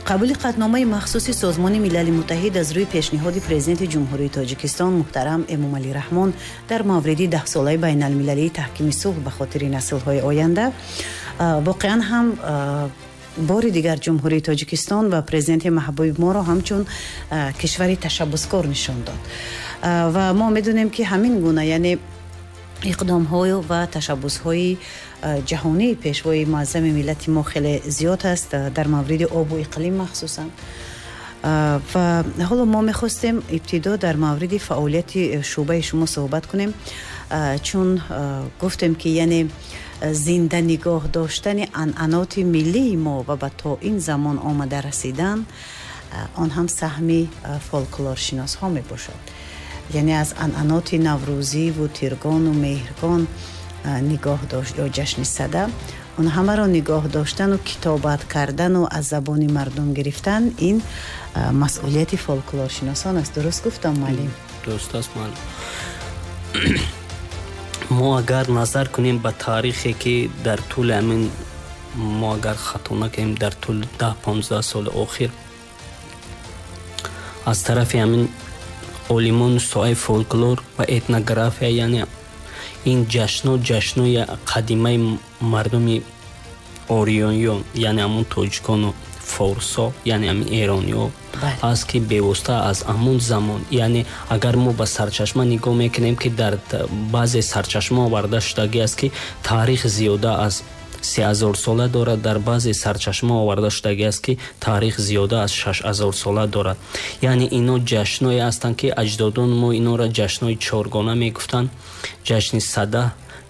Қабули қатъномаи махсуси Созмони Милали Муттаҳид аз рӯи пешниҳоди Президенти Ҷумҳурии Тоҷикистон муҳтарам Эмомалӣ Раҳмон дар мавриди даҳсолаи байналмилалии таҳкими сулҳ ба хотири наслҳои оянда воқеан ҳам бори дигар Ҷумҳурии Тоҷикистон ва президенти маҳбуби моро ҳамчун кишвари ташаббускор нишон дод. Ва мо медонем, ки ҳамин гуна, яъне иқдомҳою ва ташаббусҳои ҷаҳонии пешвои муаззами миллати мо хеле зиёд аст, дар мавриди обу иқлим махсусан. Ва ҳоло мо мехостем ибтидо дар мавриди фаъолияти шӯъбаи шумо суҳбат кунем, чун гуфтем, ки яъне зинда нигоҳ доштани анъаноти миллии мо ва ба то ин замон омада расидан, он ҳам саҳми фолклоршиносҳо мебошад. Яъне аз анъаноти наврӯзиву тиргону меҳргон нигоҳ дошт ё ҷашни Сада, он ҳамаро нигоҳ доштану китобат кардану аз забони мардум гирифтан, ин масъулияти фолклоршиносон аст. Дуруст гуфтам, муаллим? Дуруст аст, муаллим. Мо агар назар кунем ба таърихе, ки дар тӯли ҳамин, мо агар хато накунем, дар тӯли 10-15 соли охир аз тарафи ҳамин олимони соҳаи фолклор ва этнография, яъне ин ҷашно ҷашнои қадимаи мардуми ориёниён, яъне ҳамун тоҷикону форсо, яъне ҳамин эрониҳо аст, ки бевосита аз ҳамун замон, яъне агар мо ба сарчашма нигоҳ мекунем, ки дар баъзе сарчашма оварда шудагӣ аст, ки таърих зиёда аз 3000 сола дорад, дар баъзе сарчашма оварда шудагӣ аст, ки таърих зиёда аз 6000 сола дорад. Яъне ино ҷашное ҳастанд, ки аҷдодони мо инора ҷашнои чоргона мегуфтанд: ҷашни Сада,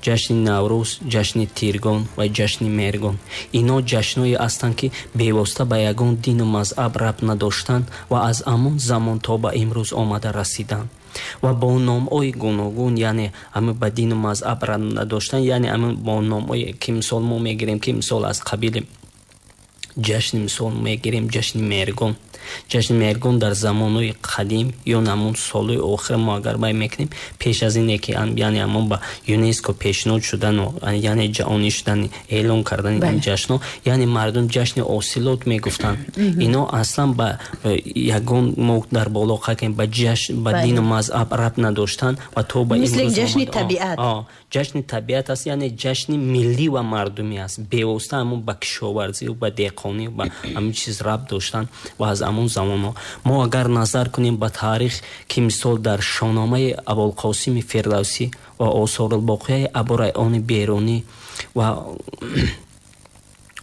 ҷашни Наврӯз, ҷашни Тиргон ва ҷашни Меҳргон. Ино ҷашное ҳастанд, ки бевосита ба ягон дину мазҳаб рабт надоштанд ва аз ҳамон замон то ба имрӯз омада расиданд ва бо номҳои гуногун, яъне ҳама ба дину мазҳаб рабт надоштанд, яъне ҳама бо номҳое ки мисол мо мегирем, ки мисол аз қабили ҷашни, мисол мегирем, ҷашни Меҳргон. Ҷашни Меҳргон дар замонҳои қадим ё ҳамун солҳои охир, мо агар бай мекунем, пеш аз ине ки яъне ҳамон ба ЮНЕСКО пешниҳод шудану яъне ҷаҳонӣ шудани, эълон кардани ин ҷашнҳо, яъне мардум ҷашни ҳосилот мегуфтанд. Ино аслан ба ягон, мо дар боло қайд кардем, ба ҷашн, ба дину мазҳаб рабт надоштанд ва то ба мисли ҷашни табиат. Ҷашни табиат аст, яъне ҷашни миллӣ ва мардумӣ аст. Бевосита ҳамун ба кишоварзию ба деҳқонӣ, ба ҳамин чиз рабт доштанд. Ва аз ҳамон замонҳо мо агар назар кунем ба таърих, ки мисол дар Шоҳномаи Абулқосими Фирдавсӣ ва Осорулбоқияи Абурайҳони Берунӣ ва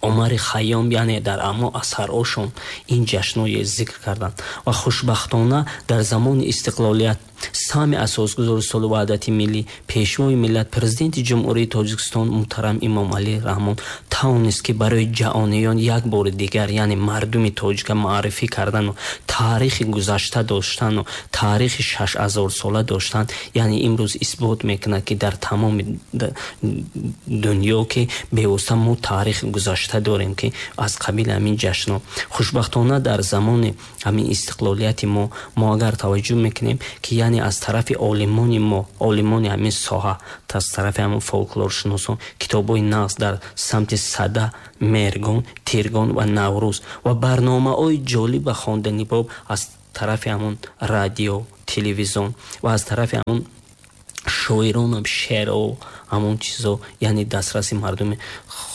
Омари Хайём, яъне дар ҳамон асарҳошон ин ҷашнҳое зикр карданд. Ва хушбахтона дар замони истиқлолият саҳми асосгузори сулҳу ваҳдати миллӣ, пешвои миллат, Президенти Ҷумҳурии Тоҷикистон муҳтарам Эмомалӣ Раҳмон тавонист, ки барои ҷаҳониён як бори дигар, яъне мардуми тоҷика муаррифӣ кардану таърихи гузашта доштану таърихи 6000 сола доштан, яъне имрӯз исбот мекунад, ки дар тамоми дунё, ки бевосита мо таърихи гузашта дорем, ки аз қабили ҳамин ҷашнҳо. Хушбахтона дар замони ҳамин истиқлолияти мо агар таваҷҷӯҳ мекунем, ки яъне аз тарафи олимони мо, олимони ҳамин соҳа, аз тарафи ҳамин фолклоршиносон китобҳои нағз дар самти Сада, Меҳргон, Тиргон ва Наврӯз ва барномаҳои ҷолиб ва хонданибоб аз тарафи ҳамон радио, телевизион ва аз тарафи ҳамон шоиронам шеърҳо, ҳамон чизо, яъне дастраси мардуми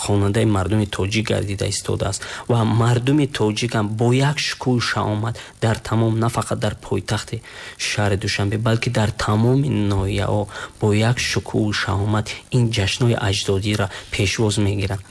хонандаи мардуми тоҷик гардида истодааст. Ва мардуми тоҷикам бо як шукӯҳу шаҳомат дар тамом, на фақат дар пойтахти шаҳри Душанбе, балки дар тамоми ноҳияҳо бо як шукӯҳу шаҳомат ин ҷашнҳои аҷдодиро пешвоз мегиранд.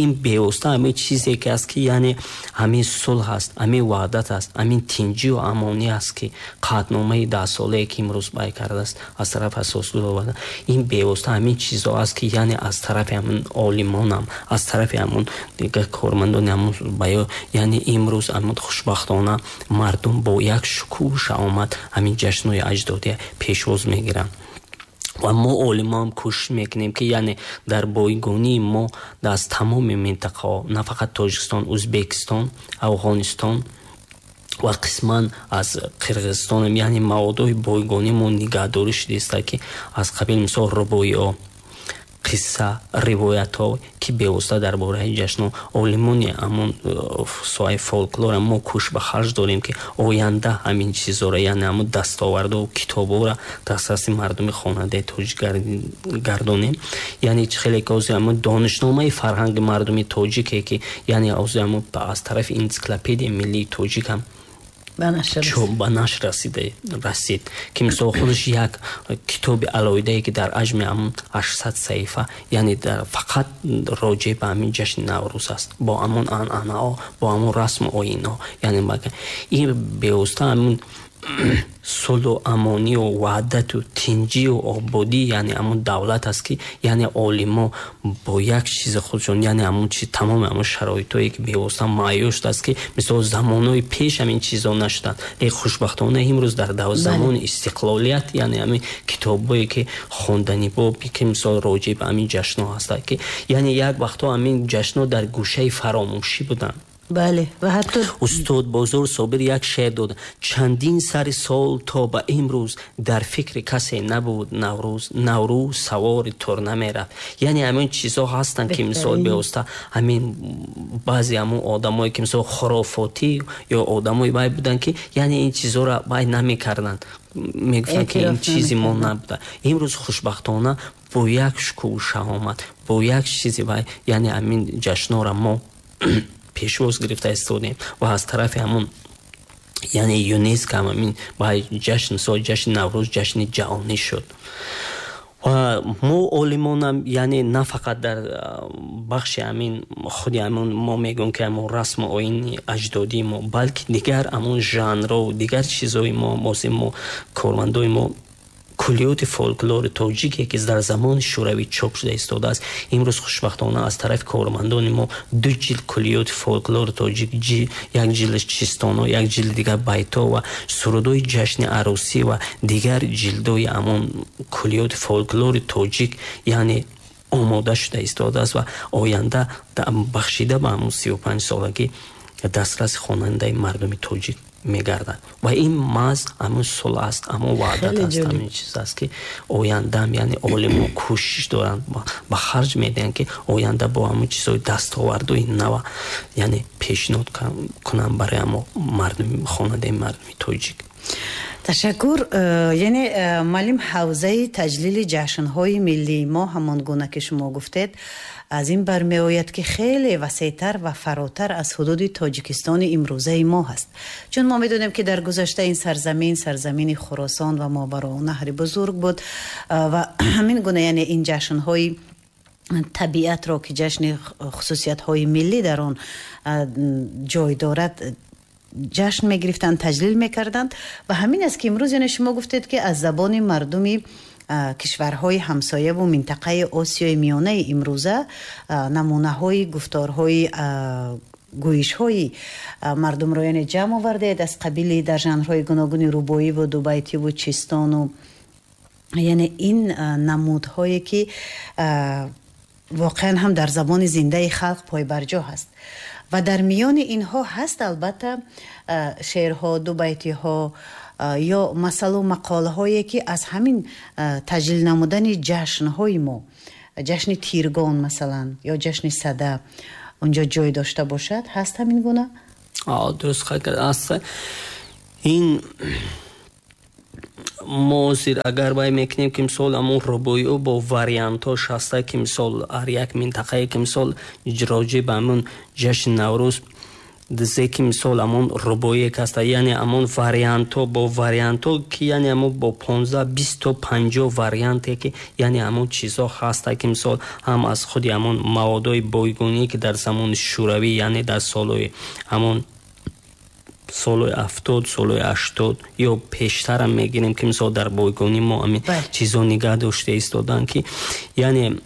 Ин бевосита ҳамин чизе ки аст, ки яъне ҳамин сулҳ аст, ҳамин ваҳдат аст, ҳамин тинҷию амонӣ аст, ки қатъномаи даҳсолае, ки имрӯз бай кардааст аз тарафи асосгузор, ин бевосита ҳамин чизо аст, ки яъне аз тарафи ҳамин олимонам, аз тарафи ҳамон дигар кормандони ҳамон баё, яъне имрӯз ҳамин хушбахтона мардум бо як шукӯҳу шаҳомат ҳамин ҷашнҳои аҷдодия пешвоз мегиранд. Ва мо олимоам кӯшиш мекунем, ки яъне дар бойгонии мо аз тамоми минтақаҳо, на фақат Тоҷикистон, Ӯзбекистон, Афғонистон ва қисман аз Қирғизистонам, яъне маводҳои бойгонии мо нигаҳдорӣ шудааст, ки аз қабили мисол рубоиҳо. Қисса, ривоятҳо, ки бевосита дар бораи ҷашно олимони ҳамон соҳаи фолклора мо кӯш ба харҷ дорем, ки оянда ҳамин чизҳоро, яъне ҳамон дастоварду китобҳоро дастраси мардуми хонандаи тоҷик гардонем. Яъне чӣ хеле ки ҳозир ҳамон донишномаи фарҳанги мардуми тоҷике, ки яъне ҳозир ҳамон аз тарафи Энсиклопедияи миллии тоҷик ҳам ба нашр расид, ки мисол худаш як китоби алоҳидае, ки дар ҳаҷми ҳамон 800 саҳифа, яъне фақат роҷеъ ба ҳамин ҷашни Наврӯз аст, бо ҳамон анъанаҳо, бо ҳамон расму оинҳо. Яъне ин бевосита ҳамон сулҳу амонию ваҳдату тинҷию ободӣ, яъне ҳамон давлат аст, ки яъне олимо бо як чизи худшон, яъне ҳамон чи тамоми ҳамон шароитое, ки бевосита муайё шудааст, ки мисол замонҳои пеш ҳамин чизо нашуданд. Лекин хушбахтона имрӯз дар замони истиқлолият, яъне ҳамин китобҳое, ки хонданибоб, ки мисол роҷеъ ба ҳамин ҷашнҳо ҳастанд, ки яъне як вақтҳо ҳамин ҷашнҳо дар гӯшаи фаромӯшӣ буданд. Бале, ва ҳатто устод Бозор Собир як шеър дод: «Чандин сари сол то ба имрӯз дар фикри касе набуд Наврӯз, Наврӯз савори турна мерафт». Яъне ҳамин чизҳо ҳастанд, ки мисол бевосита ҳамин баъзе ҳамон одамое, ки мисол хурофотӣ ё одамои вай буданд, ки яъне ин чизҳоро вай намекарданд, мегуфтанд, ки ин чизи мо набуда. Имрӯз хушбахтона бо як шукӯҳу шаҳомат, бо як чизи вай, яъне ҳамин ҷашнҳоро мо пешвоз гирифта истодем ва аз тарафи ҳамон, яъне ЮНЕСКО ҳамин ба ҷашн, мисол ҷашни Наврӯз ҷашни ҷаҳонӣ шуд. Ва мо олимонам, яъне на фақат дар бахши ҳамин худи ҳамон мо мегӯем, ки ҳамон расму оини аҷдодии мо, балки дигар ҳамон жанру дигар чизҳои мо. Мо кормандои мо куллиёти фолклори тоҷике, ки дар замони Шӯравӣ чоп шуда истодааст, имрӯз хушбахтона аз тарафи кормандони мо ду ҷилд куллиёти фолклори тоҷик, як ҷилдаш чистоно, як ҷилди дигар байто ва сурудҳои ҷашни арӯсӣ ва дигар ҷилдои ҳамон куллиёти фолклори тоҷик, яъне омода шуда истодааст ва оянда бахшида ба ҳамон 35-солагӣ дастраси хонандаи мардуми тоҷик мегардад. Ва ин маҳз ҳамон сулҳ аст, ҳамон ваҳдат аст, ҳамин чиз аст, ки ояндаам, яъне олимо кӯшиш доранд, ба харҷ медиҳанд, ки оянда бо ҳамон чизҳои дастовардҳои нава, яъне пешниҳод кунанд барои ҳамо мардуми хонандаи мардуми тоҷик. Ташаккур. Яъне муаллим, ҳавзаи таҷлили ҷашнҳои миллии мо, ҳамон гуна ки шумо гуфтед, аз ин бармеояд, ки хеле васеътар ва фаротар аз ҳудуди Тоҷикистони имрӯзаи мо ҳаст, чун мо медонем, ки дар гузашта ин сарзамин сарзамини Хуросон ва Мовароуннаҳри бузург буд ва ҳамин гуна, яъне ин ҷашнҳои табиатро, ки ҷашни хусусиятҳои миллӣ дар он ҷой дорад, ҷашн мегирифтанд, таҷлил мекарданд. Ва ҳамин аст, ки имрӯз, яъне шумо гуфтед, ки аз забони мардуми кишварҳои ҳамсояву минтақаи Осиёи Миёнаи имрӯза намунаҳои гуфторҳои, гӯишҳои мардумро, яъне ҷамъ овардаед, аз қабили дар жанрҳои гуногуни рубоиву дубайтиву чистону, яъне ин намудҳое, ки воқеан ҳам дар забони зиндаи халқ пойбарҷо ҳаст. Ва дар миёни инҳо ҳаст, албатта, шеърҳо, дубайтиҳо ё масалу мақолаҳое, ки аз ҳамин таҷлил намудани ҷашнҳои мо, ҷашни Тиргон масалан ё ҷашни Сада, унҷо ҷой дошта бошад. Ҳаст ҳамин гуна? Дуруст қайд кард, аст. Ин мо ҳозир агар вай мекунем, ки мисол ҳамон рубоиҳо бо вариантҳош ҳаста, ки мисол ҳар як минтақае, ки мисол роҷеъ ба ҳамон ҷашни Наврӯз зе, ки мисол ҳамон рубоие ки ҳаста, яъне ҳамон вариантҳо бо вариантҳо, ки яъне ҳамон бо 15, 20 то 50 варианте, ки яъне ҳамон чизҳо ҳаста, ки мисол ҳам аз худи ҳамон маводҳои бойгонӣ, ки дар замони Шӯравӣ, яъне дар солҳои ҳамон солҳои 70, солҳои 80 ё пештарам мегирем, ки мисол дар бойгонӣ мо ҳамин чизҳо нигаҳ дошта истоданд, ки яъне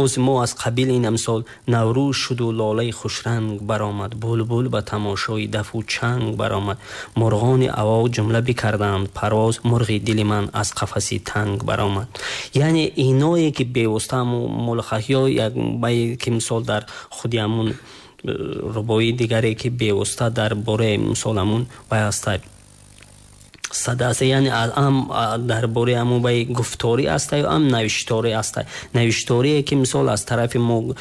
оз мо аз қабили ин, мисол: «Наврӯз шуду лолаи хушранг баромад, булбул ба тамошои дафу чанг баромад, мурғони аво ҷумла бикарданд парвоз, мурғи дили ман аз қафаси танг баромад». Яъне иное, ки бевосита мулхаҳё як ки мисол дар худи ҳамун рубоии дигаре, ки бевосита дар бораи мисол ҳамун вай ҳаста. Сада аст, яъне ам дар бораи ҳамон баи гуфторӣ аста ё ам навишторӣ аста. Навишторие ки мисол аз тарафи мо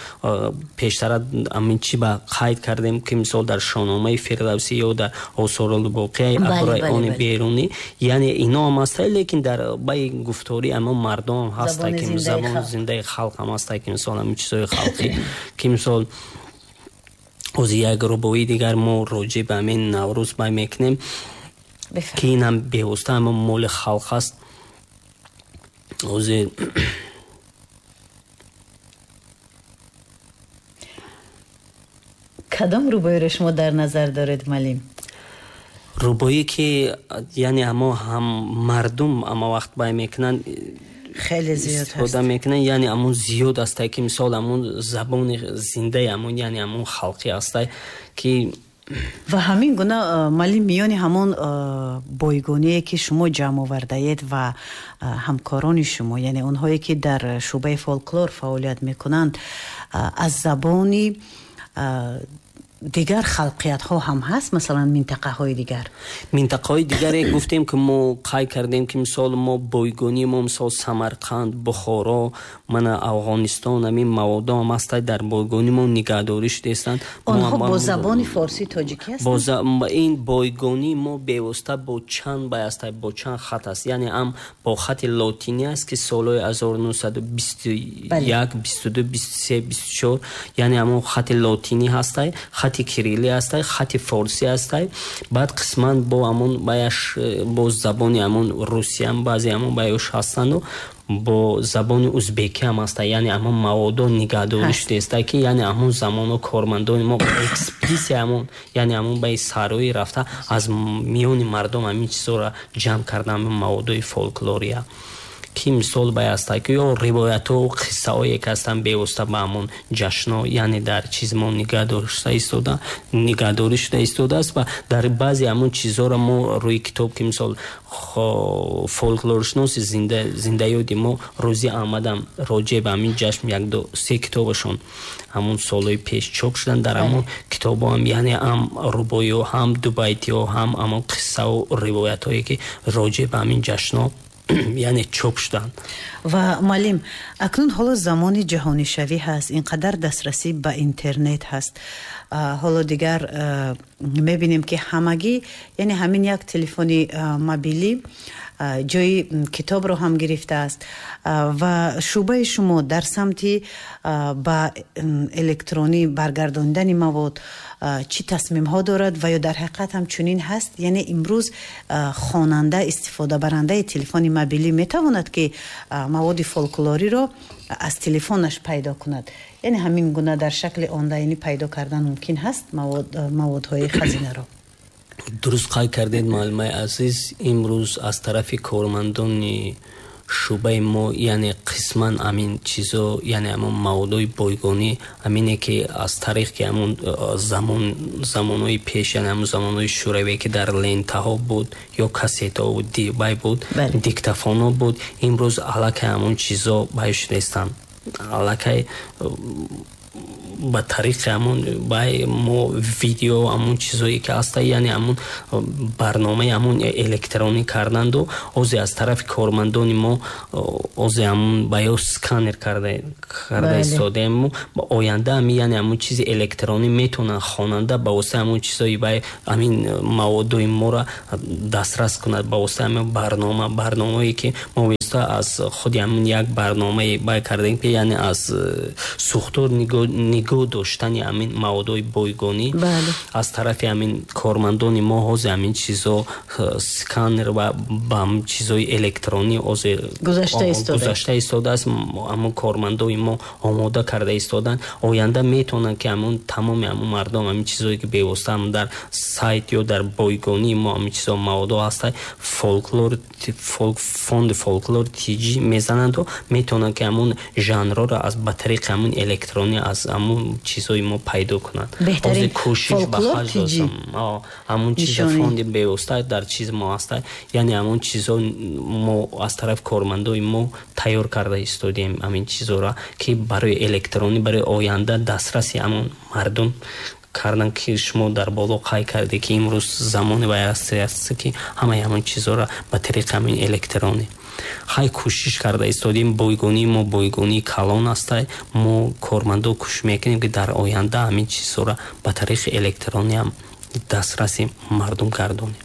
пештара амин чи ба қайд кардем, ки мисол дар Шоҳномаи Фирдавсӣ ё дар Осорулбоқияи Абурайҳони Берунӣ, яъне ино ҳам аста, лекин дар баи гуфторӣ ҳамон мардум ҳаста, ки забони зиндаи халқ ҳам аста, ки мисол ҳамин чизҳои халқӣ, ки мисол ози як рубоии дигар мо роҷеъ ба ҳамин Наврӯз бай мекунем, ки ин ҳам бевосита ҳамон моли халқ аст. Ози Кадом рубоиро шумо дар назар доред, муаллим? Рубоие ки яъне ҳамо ҳам мардум ҳама вақт бай мекунанд, хеле зиёд истифода мекунанд, яъне ҳамон зиёд астае, ки мисол ҳамон забони зиндаи ҳамон, яъне ҳамон халқӣ астае, ки Ва ҳамин гуна, муаллим, миёни ҳамон бойгоние ки шумо ҷамъ овардаед ва ҳамкорони шумо, яъне онҳое ки дар шӯъбаи фолклор фаъолият мекунанд, аз забони дигар халқиятҳо ҳам ҳаст, масалан минтақаҳои дигар? Минтақаҳои дигаре гуфтем, ки мо қайд кардем, ки мисол мо бойгонии мо мисол Самарқанд, Бухоро, мана Афғонистон, ҳамин маводо ҳам ҳастанд, дар бойгонии мо нигаҳдорӣ шудаистанд. Онҳо бо забони форсӣ тоҷикӣ ҳастанд? Ин бойгонии мо бевосита бо чанд бай аст, бо чанд хат аст, яъне ҳам бо хати лотинӣ аст, ки солҳои 1921, 22, 23, 24, яъне ҳамон хати лотинӣ ҳастай, хати кириллӣ ҳастай, хати форсӣ ҳастай, баъд қисман бо ҳамон баяш бо забони ҳамон русиям баъзе ҳамон баяш ҳастанду бо забони узбекӣ ҳам ҳастай, яъне ҳамон маводо нигаҳдорӣ шудааста, ки яъне ҳамон замоно кормандони мо экспедисия ҳамон, яъне ҳамон баи сароӣ рафта аз миёни мардум ҳамин чизҳоро ҷамъ карда, ҳамин маводои фолклория, ки мисол бай ҳаста, ки ё ривоятҳо қиссаҳое ки ҳастанд бевосита ба ҳамон ҷашнҳо, яъне дар чиз мо нигаҳдорӣ шуда истодааст. Ва дар баъзе ҳамон чизҳоро мо рӯи китоб, ки мисол фолклоршиноси зиндаёди мо Рӯзи Аҳмадам роҷеъ ба ҳамин ҷашн як ду се китобашон ҳамон солҳои пеш чоп шуданд, дар ҳамон китобҳо ҳам яъне ҳам рубоиҳо, ҳам дубайтиҳо, ҳам ҳамон қиссаву ривоятҳое ки роҷеъ ба ҳамин ҷашнҳо яъне чоп шуданд. Ва муаллим, акнун ҳоло замони ҷаҳонишавӣ ҳаст, ин қадар дастрасӣ ба интернет ҳаст, ҳоло дигар мебинем, ки ҳамагӣ, яъне ҳамин як телефони мобилӣ ҷои китобро ҳам гирифтааст. Ва шӯъбаи шумо дар самти ба электронӣ баргардонидани мавод чӣ тасмимҳо дорад ва ё дар ҳақиқат ҳам чунин ҳаст? Яъне имрӯз хонанда, истифодабарандаи телефони мобилӣ метавонад, ки маводи фолклориро аз телефонаш пайдо кунад? Яъне ҳамин гуна дар шакли онлайнӣ пайдо кардан мумкин ҳаст маводҳои хазинаро? Дуруст қайд кардед, муаллимаи азиз. Имрӯз аз тарафи кормандони шӯъбаи мо, яъне қисман ҳамин чизо, яъне ҳамон маводҳои бойгонӣ, ҳамине ки аз тариқ ки ҳамон замонҳои пеш, яъне ҳамон замонҳои шӯравӣ, ки дар лентаҳо буд ё кассетаҳо буд, бай буд, диктофонҳо буд, имрӯз аллакай ҳамон чизо бай шудаистанд, аллакай ба тариқи ҳамон бай мо видео, ҳамон чизое ки ҳаста, яъне ҳамон барномаи ҳамон электронӣ карданду озе аз тарафи кормандони мо озе ҳамон баё сканер карда истодаем. Оянда ҳами, яъне ҳамон чизи электронӣ метавонанд хонанда ба воситаи ҳамон чизои бай ҳамин маводои моро дастрас кунад ба воситаи ҳамин барномаое ки мо аз худи ҳамин як барномаи бай кардем, ки яъне аз сӯхтор нигоҳ доштани ҳамин маводҳои бойгонӣ аз тарафи ҳамин кормандони мо ҳозир ҳамин чизо сканер ва ба ҳамин чизои электронӣ ҳозир гузашта истодааст. Ҳамон кормандои мо омода карда истоданд. Оянда метавонанд, ки ҳамон тамоми ҳамон мардум ҳамин чизое ки бевосита ҳам дар сайт ё дар бойгонии мо ҳамин чизо маводҳо ҳастанд, фолклор фонди фолклор тиҷӣ мезананду метавонанд, ки ҳамон жанрҳоро аз ба тариқи ҳамон электронӣ аз ҳамон чизҳои мо пайдо кунанд. Беҳтарин. Кӯшиш ба харҷ додам ҳамон чизо фонди бевосита дар чиз мо ҳаста, яъне ҳамон чизҳо мо аз тарафи кормандои мо тайёр карда истодем ҳамин чизҳоро, ки барои электронӣ, барои оянда дастраси ҳамон мардум Кардан, ки шумо дар боло қайд карде, ки имрӯз замони вай аст, ки ҳамаи ҳамон чизҳоро ба тариқи ҳамин электронӣ хай кӯшиш карда истодем. Бойгонии мо бойгонии калон аста. Мо кормандо кӯшиш мекунем, ки дар оянда ҳамин чизҳоро ба тариқи электронӣ ҳам дастраси мардум гардонем.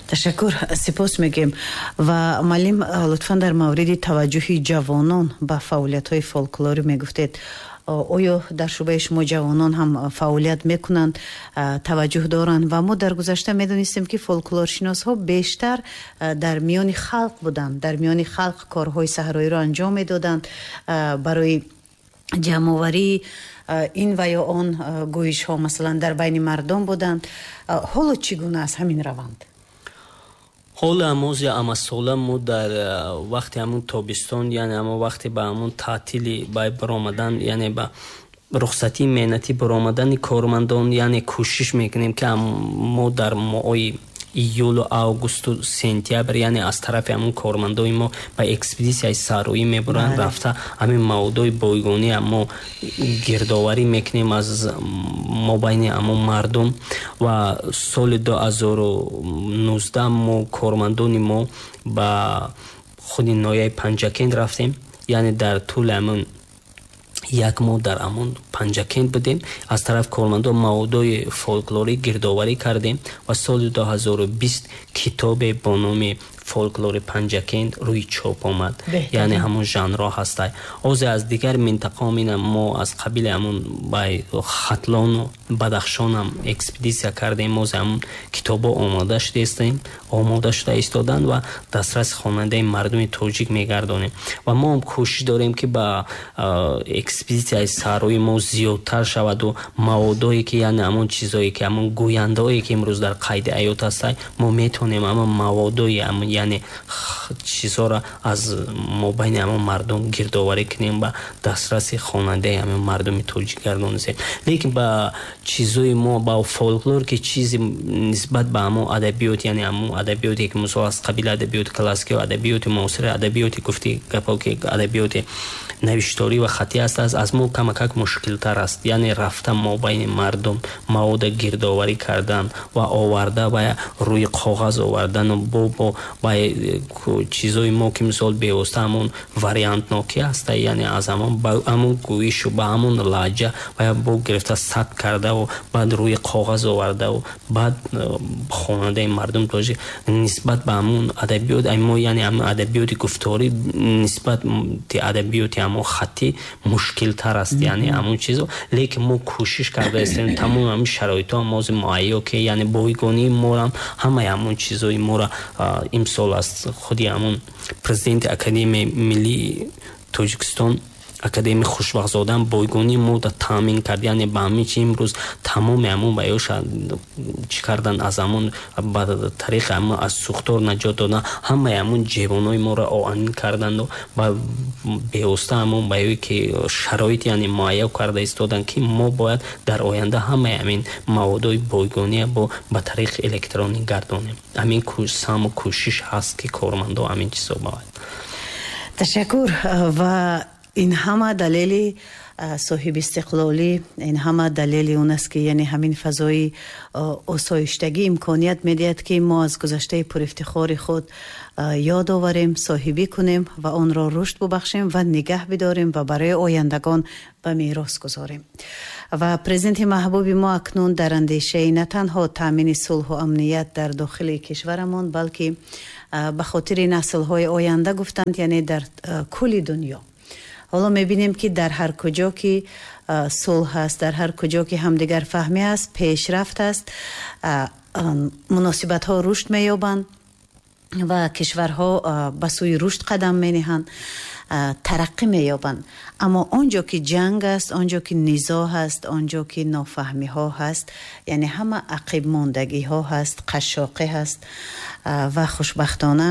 Ташаккур, сипос мегӯем. Ва муаллим, лутфан дар мавриди таваҷҷӯҳи ҷавонон ба фаъолиятҳои фолклорӣ мегуфтед. Оё дар шӯъбаи шумо ҷавонон ҳам фаъолият мекунанд, таваҷҷӯҳ доранд? Ва мо дар гузашта медонистем, ки фолклоршиносҳо бештар дар миёни халқ буданд, дар миёни халқ корҳои саҳроиро анҷом медоданд барои ҷамъоварии ин ва ё он гӯишҳо, масалан, дар байни мардум буданд. Ҳоло чӣ гуна аст ҳамин раванд? Ҳоло ҳамози амасола мо дар вақти ҳамун тобистон, яъне ҳамон вақте ба ҳамун таътили бай баромадан, яъне ба рухсатии меҳнатӣ баромадани кормандон, яъне кӯшиш мекунем, ки мо дар моҳои июлу, августу, сентябр, яъне аз тарафи ҳамун кормандои мо ба экспедитсияи саҳроӣ мебуранд. Рафта ҳамин маводои бойгонӣ мо гирдоварӣ мекунем аз мобайни ҳамун мардум. Ва соли 2019 мо кормандони мо ба худи ноҳияи Панҷакент рафтем, яъне дар тӯли ҳамун як моҳ дар ҳамон Панҷакент будем. Аз тарафи кормандон маводои фолклорӣ гирдоварӣ кардем ва соли 2020 китобе бо номи «Фолклори Панҷакент» рӯи чоп омад, яъне ҳамон жанрҳо ҳастай. Озе аз дигар минтақаом ина мо аз қабили ҳамон бай Хатлону Бадахшонам экспедитсия кардем. Озе ҳамон китобҳо омода шудаистем, омода шуда истоданд ва дастраси хонандаи мардуми тоҷик мегардонем. Ва мо ҳам кӯшиш дорем, ки ба экспедитсияи саҳрои мо зиёдтар шаваду маводое ки, яъне ҳамон чизое ки, ҳамон гӯяндаое ки имрӯз дар қайди ҳаёт ҳастанд, мо метавонем ҳамон маводои, яъне чизҳоро аз мобайни ҳамон мардум гирдоварӣ кунем, ба дастраси хонандаи ҳамин мардуми тоҷик гардонисем. Лекин ба чизои мо, ба фолклор, ки чизи нисбат ба ҳамон адабиёт, яъне ҳамон адабиёте ки мисол аз қабили адабиёти классикӣ, адабиёти муосир, адабиёти гуфти гапо, ки адабиёти навишторӣ ва хаттӣ аст, аз мо камакак мушкилтар аст. Яъне рафта мобайни мардум мавода гирдоварӣ кардан ва оварда ва рӯи коғаз овардану бо чизои мо, ки мисол бевосита ҳамон вариантнокӣ аста, яъне аз ҳамон гӯишу ба ҳамон лаҳҷа ва бо гирифта сабт кардаву баъд рӯи коғаз овардаву баъд хонандаи мардум тоҷик нисбат ба ҳамон адабиёт мо, яъне ҳамон адабиёти гуфторӣ нисбати адабиёти ҳамон хаттӣ мушкилтар аст, яъне ҳамон чизо. Лекин мо кӯшиш карда истем, тамоми ҳамин шароитҳо мози муҳайё, ки яъне бойгонии морам ҳамаи ҳамон чизои моро имсол аз худи ҳамон президенти Академияи миллии Тоҷикистон, академик Хушбахтзодаам, бойгонии мода таъмин кард. Яъне ба ҳамин чи имрӯз тамоми ҳамон ба ёша чӣ кардан, аз ҳамон ба тариқи ҳамон аз сӯхтор наҷот додан, ҳамаи ҳамон ҷевонҳои моро оҳанин карданду ба бевосита ҳамон ба ёе ки шароит, яъне муҳайё карда истоданд, ки мо бояд дар оянда ҳамаи ҳамин маводои бойгония бо ба тариқи электронӣ гардонем. Ҳамин саму кӯшиш ҳаст, ки кормандо ҳамин чизо бояд. Ташаккур. Ва ин ҳама далели соҳибистиқлолӣ, ин ҳама далели он аст, ки яъне ҳамин фазои осоиштагӣ имконият медиҳад, ки мо аз гузаштаи пурифтихори худ ёд оварем, соҳибӣ кунем ва онро рушд бубахшем ва нигаҳ бидорем ва барои ояндагон ба мерос гузорем. Ва президенти маҳбуби мо акнун дар андешаи на танҳо таъмини сулҳу амният дар дохили кишварамон, балки ба хотири наслҳои оянда гуфтанд, яъне дар кулли дунё. Ҳоло мебинем, ки дар ҳар куҷо ки сулҳ ҳаст, дар ҳар куҷо ки ҳамдигарфаҳмӣ аст, пешрафт аст, муносибатҳо рушд меёбанд ва кишварҳо ба сӯи рушд қадам мениҳанд, тараққӣ меёбанд. Аммо он ҷо ки ҷанг аст, он ҷо ки низоъ ҳаст, он ҷо ки нофаҳмиҳо ҳаст, яъне ҳама ақибмондагиҳо ҳаст, қашшоқӣ ҳаст. Ва хушбахтона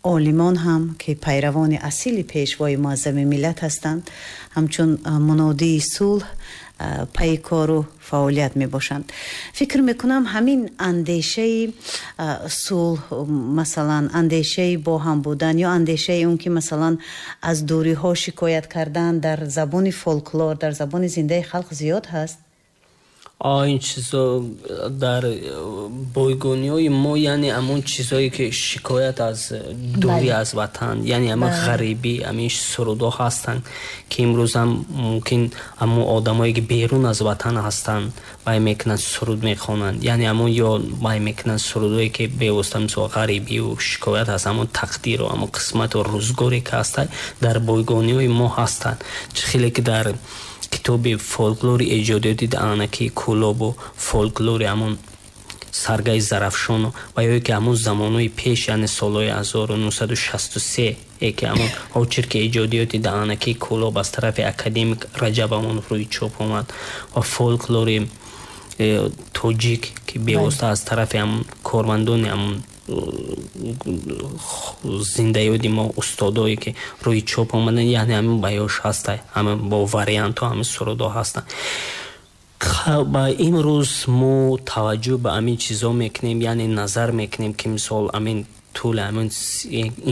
олимон ҳам, ки пайравони асили пешвои муаззами миллат ҳастанд, ҳамчун мунодии сулҳ пайи кору фаъолият мебошанд. Фикр мекунам, ҳамин андешаи сулҳ, масалан, андешаи бо ҳам будан ё андешаи он ки, масалан, аз дуриҳо шикоят кардан дар забони фолклор, дар забони зиндаи халқ зиёд ҳаст. Ин чизо дар бойгониҳои мо, яъне ҳамон чизое ки шикоят аз дурӣ аз ватан, яъне ҳамон ғарибӣ, ҳамин сурудҳо ҳастанд, ки имрӯзам мумкин ҳамон одамое ки берун аз ватан ҳастанд, вай мекунанд, суруд мехонанд, яъне ҳамон ё вай мекунанд сурудое ки бевосита мисол ғарибию шикоят аз ҳамон тақдиру ҳамон қисмату рӯзгоре ки ҳастанд, дар бойгониҳои мо ҳастанд. Чӣ хеле ки дар китоби фолклори эҷодиёти Анаки Кӯлобу фолклори ҳамон Саргаи Зарафшону ва ё ки ҳамон замонҳои пеш, яъне солҳои 1963 ки ҳамон очерки эҷодиёти Даъанаки Кӯлоб аз тарафи академик Раҷаб Амонов рӯи чоп омад ва фолклори тоҷик, ки бевосита аз тарафи ҳамон кормандони ҳамон зиндаёди мо, устодое ки рӯи чоп омадан, яъне ҳамин баёш ҳаста, ҳамин бо вариантҳо ҳамин сурудҳо ҳастанд. Ба имрӯз мо таваҷҷӯҳ ба ҳамин чизҳо мекунем, яъне назар мекунем, ки мисол ҳамин тӯли ҳамин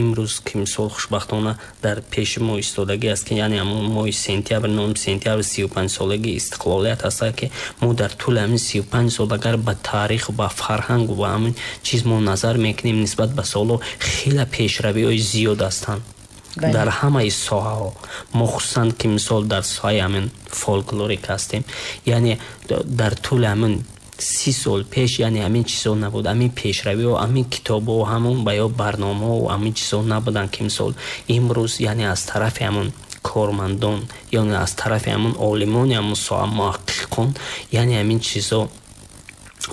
имрӯз, ки мисол хушбахтона дар пеши мо истодагӣ аст, ки яъне ҳамон моҳи сентябр, 9 сентябр, 35-солагии истиқлолият аст, ки мо дар тӯли ҳамин 35 сол агар ба таъриху ба фарҳангу ба ҳамин чиз мо назар мекунем, нисбат ба солҳо хеле пешравиҳои зиёд ҳастанд дар ҳамаи соҳаҳо. Мо хусусан ки мисол дар соҳаи ҳамин фолклорик ҳастем, яъне дар тӯли ҳамин 30 сол пеш, яъне ҳамин чизҳо набуд, ҳамин пешравиҳо, ҳамин китобҳо, ҳамон ба ё барномаҳо, ҳамин чизҳо набуданд, ки мисол имрӯз, яъне аз тарафи ҳамон кормандон, яъне аз тарафи ҳамон олимони ҳамон соҳа, муҳаққиқон, яъне ҳамин чизҳо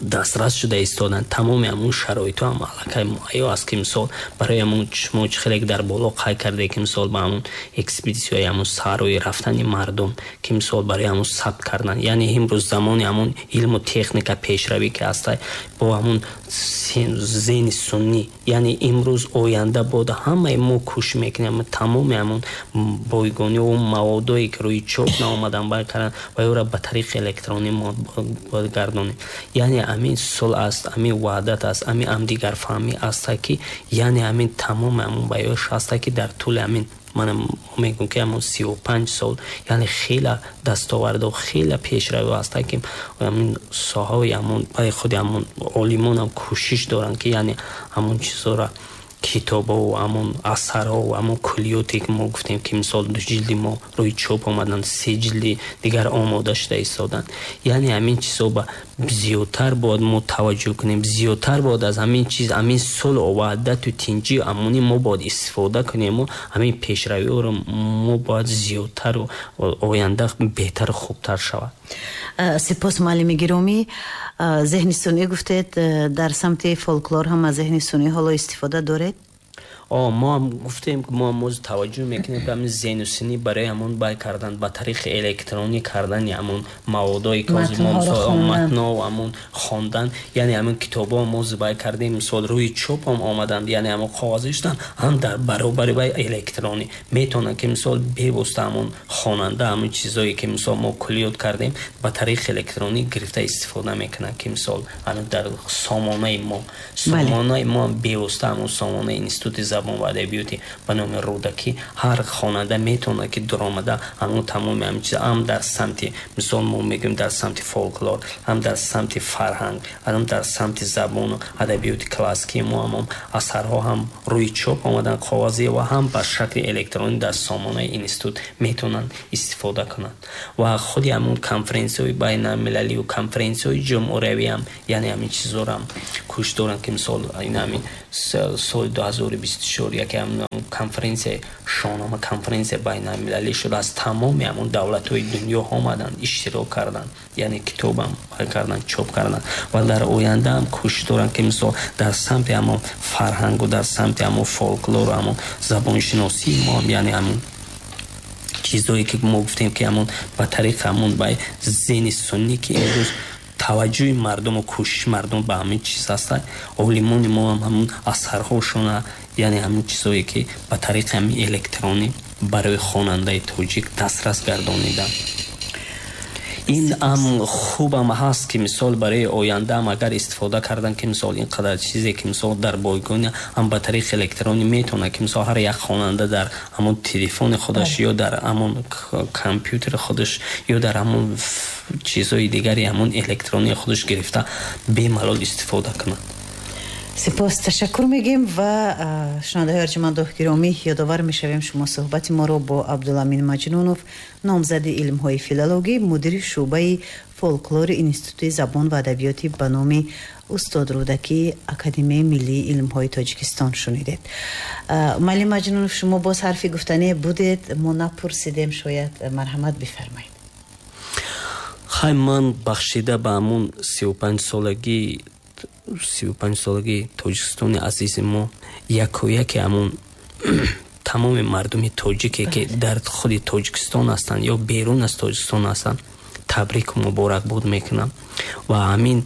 дастрас шуда истоданд. Тамоми ҳамон шароитҳо ҳам аллакай муҳайё аст, ки мисол барои ҳамон шумо чӣ хеле дар боло қайд карде, ки мисол ба ҳамон экспедитсияи ҳамон саҳрои рафтани мардум, ки мисол барои ҳамон сабт кардан, яъне имрӯз замони ҳамон илму техника пешравӣ ки ҳаста, бо ҳамон зеҳни суннӣ, яъне имрӯз оянда бода ҳамаи мо кӯшиш мекунем тамоми ҳамон бойгониҳо, маводое ки рӯи чоп наомадан бай кардан ва ёро ба тариқи электронӣ мо бояд гардонем. Яъне ҳамин сулҳ аст, ҳамин ваҳдат аст, ҳамин ҳамдигарфаҳмӣ аст, ки яъне ҳамин тамоми ҳамон баёш ҳаст, ки дар тӯли ҳамин манам мегӯям, ки ҳамон 35 сол, яъне хеле дастовардо, хеле пешравӣ ҳаст, ки ҳамин соҳаҳои ҳамон баи худи ҳамон олимон ҳам кӯшиш доранд, ки яъне ҳамон чизҳоро, китобҳо, ҳамон асарҳо, ҳамон куллиёте ки мо гуфтем, ки мисол 2 ҷилди мо рӯи чоп омаданд, 3 ҷилди дигар омода шуда истоданд. Яъне ҳамин чизҳо ба зиёдтар бояд мо таваҷҷӯҳ кунем, зиёдтар бояд аз ҳамин чиз, ҳамин сулҳу ваҳдату тинҷию амонӣ мо бояд истифода кунему ҳамин пешравиҳоро мо бояд зиёдтару оянда беҳтару хубтар шавад. Сипос, муаллими гиромӣ. Зеҳни сунъӣ гуфтед, дар самти фолклор ҳам аз зеҳни сунъӣ ҳоло истифода доред? Мо ҳам гуфтем, мо ҳам боз таваҷҷӯҳ мекунем, ки ҳамин зеҳну сунъӣ барои ҳамон бай кардан, ба тариқи электронӣ кардани ҳамон маводое ки ҳозир мо матнҳо, ҳамон хондан, яъне ҳамин китобҳо мо бай кардем, мисол рӯи чоп ҳам омаданд, яъне ҳамон коғазӣ шуданд, ҳам дар баробари бай электронӣ метавонанд, ки мисол бевосита ҳамон хонанда ҳамон чизое ки мисол мо куллиёт кардем, ба тариқи электронӣ гирифта истифода мекунанд, ки мисол дар сомонаи мо, сомонаи мо бевосита ҳамон сомонаи Институти забон ва адабиёти ба номи Рӯдакӣ, ҳар хонанда метавонад, ки дуромада ҳамон тамоми ҳамин чиз ҳам дар самти, мисол мо мегӯем, дар самти фолклор, ҳам дар самти фарҳанг, ҳам дар самти забону адабиёти классикии мо ҳамон асарҳо ҳам рӯи чоп омаданд коғазӣ ва ҳам ба шакли электронӣ дар сомонаи институт метавонанд истифода кунанд. Ва худи ҳамон конференсияҳои байналмилалию конференсияҳои ҷумҳуриявӣ ҳам, яъне ҳамин чизҳоро ҳам кӯшиш доранд, ки мисол ин ҳамин соли 2024 яке конференсияи Шоҳнома, конференсия байналмилалӣ шуд, аз тамоми ҳамон давлатҳои дунё омаданд, иштирок карданд, яъне китобам карданд, чоп карданд ва дар оянда ҳам кӯшиш доранд, ки мисол дар самти ҳамон фарҳангу дар самти ҳамон фолклору ҳамон забоншиносии мо, яъне ҳамон чизҳое ки мо гуфтем, ки ҳамон ба тариқи ҳамон ба зеҳни суннӣ, ки имрӯз таваҷҷӯҳи мардуму кӯшиши мардум ба ҳамин чиз ҳаст, олимони мо ҳам ҳамон асарҳошона, яъне ҳамин чизҳое ки ба тариқи ҳамин электронӣ барои хонандаи тоҷик дастрас гардониданд. Ин ам хубам ҳаст, ки мисол барои ояндаам агар истифода кардан, ки мисол ин қадар чизе, ки мисол дар бойгони ҳам ба тариқи электронӣ метавонад, ки мисол ҳар як хонанда дар ҳамон телефони худаш ё дар ҳамон компютери худаш ё дар ҳамон чизҳои дигари ҳамон электронии худаш гирифта бемалол истифода кунад. Сипос, ташаккур мегӯем ва шунавандаҳои арҷуманду гиромӣ, ёдовар мешавем, шумо суҳбати моро бо Абдуламин Маҷнунов, номзади илмҳои филологӣ, мудири шӯъбаи фолклори Институти забон ва адабиёти ба номи устод Рӯдакӣ Академияи миллии илмҳои Тоҷикистон шунидед. Муаллим Маҷнунов, шумо боз ҳарфи гуфтане будед, мо напурсидем, шояд, марҳамат бифармоед. Хай, ман бахшида ба ҳамун 35-солагии Тоҷикистони азизи мо якояке ҳамун тамоми мардуми тоҷике, ки дар худи Тоҷикистон ҳастанд ё берун аз Тоҷикистон ҳастанд, табрику муборакбод мекунам ва ҳамин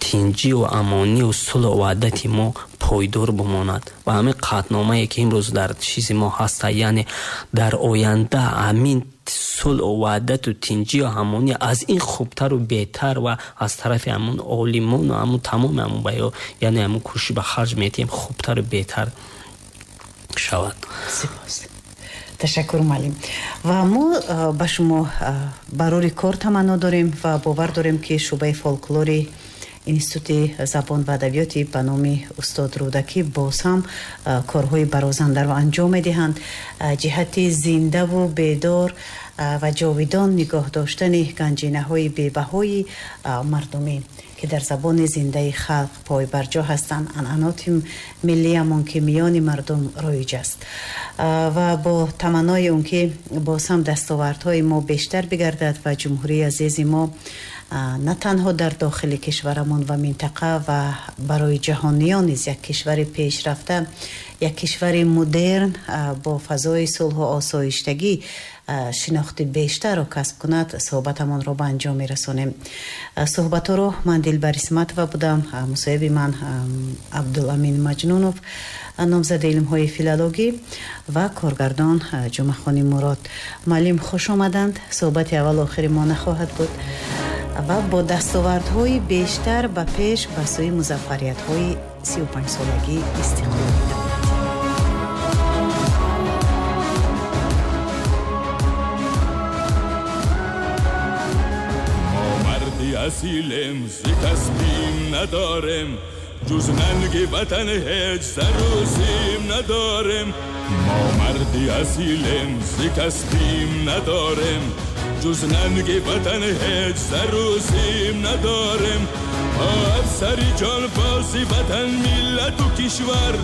тинҷию амонию сулҳу ваҳдати мо пойдор бимонад ва ҳамин қатъномае, ки имрӯз дар чизи мо ҳаста, яъне дар оянда ҳамин сулҳу ваҳдату тинҷию ҳамонӣ аз ин хубтару беҳтар ва аз тарафи ҳамун олимону ҳамун тамоми ҳамун баё, яъне ҳамун кӯшиш ба харҷ метиҳем, хубтару беҳтар шавад. Сипос, ташаккур, муаллим, ва мо ба шумо барори кор таманно дорем ва бовар дорем, ки шӯъбаи фолклори Институти забон ва адабиёти ба номи устод Рӯдакӣ боз ҳам корҳои барозандаро анҷом медиҳанд ҷиҳати зиндаву бедор ва ҷовидон нигоҳ доштани ганҷинаҳои бебаҳои мардумӣ, ки дар забони зиндаи халқ пойбарҷо ҳастанд, анъаноти миллиамон, ки миёни мардум роиҷ аст, ва бо таманнои он ки боз ҳам дастовардҳои мо бештар бигардад ва ҷумҳурии азизи мо на танҳо дар дохили кишварамон ва минтақа ва барои ҷаҳониён низ як кишвари пешрафта, як кишвари мудерн бо фазои сулҳу осоиштагӣ шинохти бештарро касб кунад, суҳбатамонро ба анҷом мерасонем. Суҳбатҳоро ман Дилбар Исматова будам, мусоҳиби ман Абдуламин Маҷнунов, номзади илмҳои филологӣ, ва коргардон Ҷумъахони Мурод. Муаллим, хуш омаданд. Суҳбати аввалу охири мо нахоҳад буд ва бо дастовардҳои бештар ба пеш, ба сӯи музаффариятҳои 35-солагии истиқлоли давлатӣ. اصیلم ز کسبیم ندارم، جز ننگ وطن هیچ سروسیم ندارم. ما مردی اصیلم ز کسبیم ندارم، جز ننگ وطن هیچ سروسیم ندارم. افسری جان بازی وطن، ملت و کشور.